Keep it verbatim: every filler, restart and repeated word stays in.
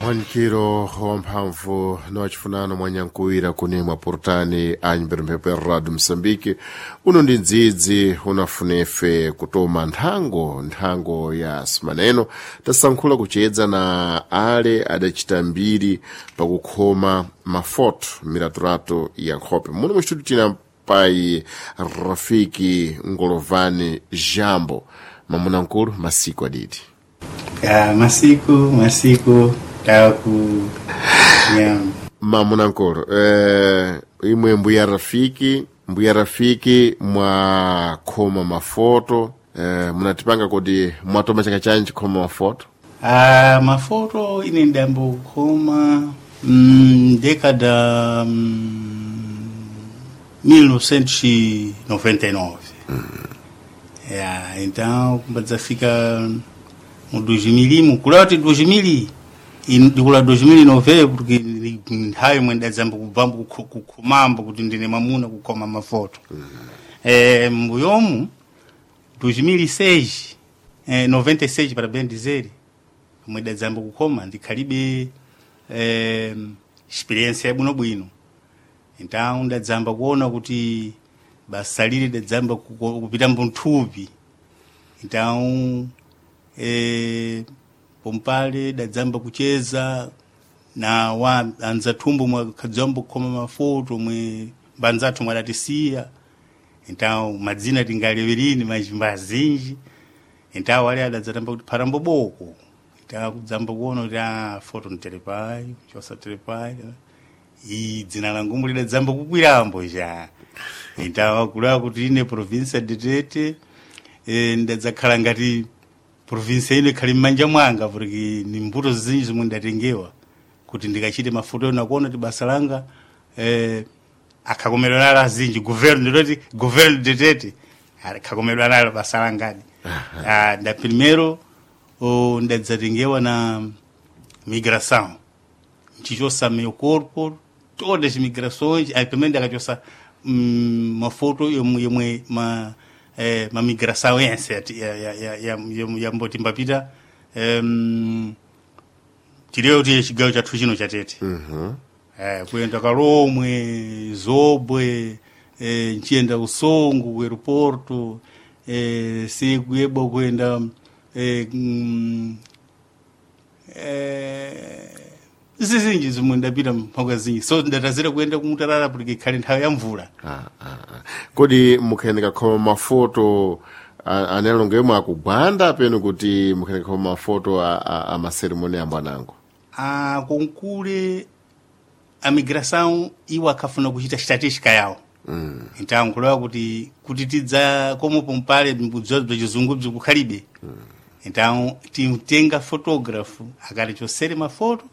Mwanikiro wamphamvu na wachifunano mwanyankuwira kunemwa portani anyimbira mphepo ya radio Moçambique. Uno ndi ndzidzi unafunefe kutoma nthango nthango ya simaneno tasankhula kuchedza na ale adachita mbiri pakukhoma mafoto milatolato ya nkhope. Muno muchitutu tina pai Rafiki Ngolovani Jambo mamuna nkulu masiku aditi. Ya, masiku masiku taku ya. Mamuna nkulu, eh, imwe mbuya Rafiki mbuya Rafiki mwakhoma mafoto, eh, munatipanga kuti mwatoma chaka chanji khoma mafoto? Ah, mafoto ine ndambo kukhoma mm, década mm, mil novecentos e noventa e nove. Ya, então kumbadzafika mu dois mil kula kuti dois mil e- ndikula dois mil e nove, porque ndi- nthawi imwe ndadzamba kubvambo kukhomambo kuti ndine mwamuna kukhoma mafoto. Eh, mbuyomu dois mil e seis, eh, noventa e seis para bem dizer, omwe dadzamba kukhoma ndikhalibe eh, experiência yabwinobwino. Então ndadzamba kuona kuti basa lili dadzamba kuko- kupita mbunthupi. Então eh, pompale dadzamba kucheza na wa anzathumbo mwakhadzambo kukhoma mafoto mwe mbanzathu mwadatisiya. Então madzina tingalewerini majimba azinji. Então wale adadzatamba kuti pharambo boko. Então kudzamba kuona kuti ah, foto mterepai chosa terepai iyi dzina langu lidadzamba kukwirambo ja. Então akulawa kuti ine provinsia de Tete, eh, ndadzakhala ngati provinsia ino ikhali m'manja mwanga, porque ni mbuto zinji zomwe ndatengewa kuti ndikachite mafoto ena kuona kuti basa langa eh, akhakomedwa nalo azinji governo, ndiloti governo de Tete akhakomedwa nalo basa langadi. Ah, nda primeiro oh, ndadzatengewa na migração nchichosa meu corpo todas as migrações. Aí primeiro ndakachosa mm, mafoto yomwe yomwe ma eh, ma migração yense yati- ya ya ya ya yamboti mbapita em tileyo tiye chigawo chathu chino chatete. Uhum. eh, kuyenda Kalomwe, Zobwe, eh, nchiyenda Usongo ku aeroporto, eh, sikuyebwa kuyenda eh, mm, eh, zizinji zimwe ndapita mpaka zinji so ndatazira kuyenda kumutalala porque ikhale nthawi ya mvula. Ah, ah, ah. Kodi mukhayeneka khoma mafoto a- analongo yomwe akugwanda penu kuti mukhayeneka khoma mafoto a, a, a maseremoni ambo anango? Ah, konkule a migração iwo akhafuna kuchita estatística yawo. Mm. Então nkulewa kuti kuti tidza como pompale mbudzo bza chizungu bzikukhalibe. Então timtenga fotógrafo akati chosere mafoto.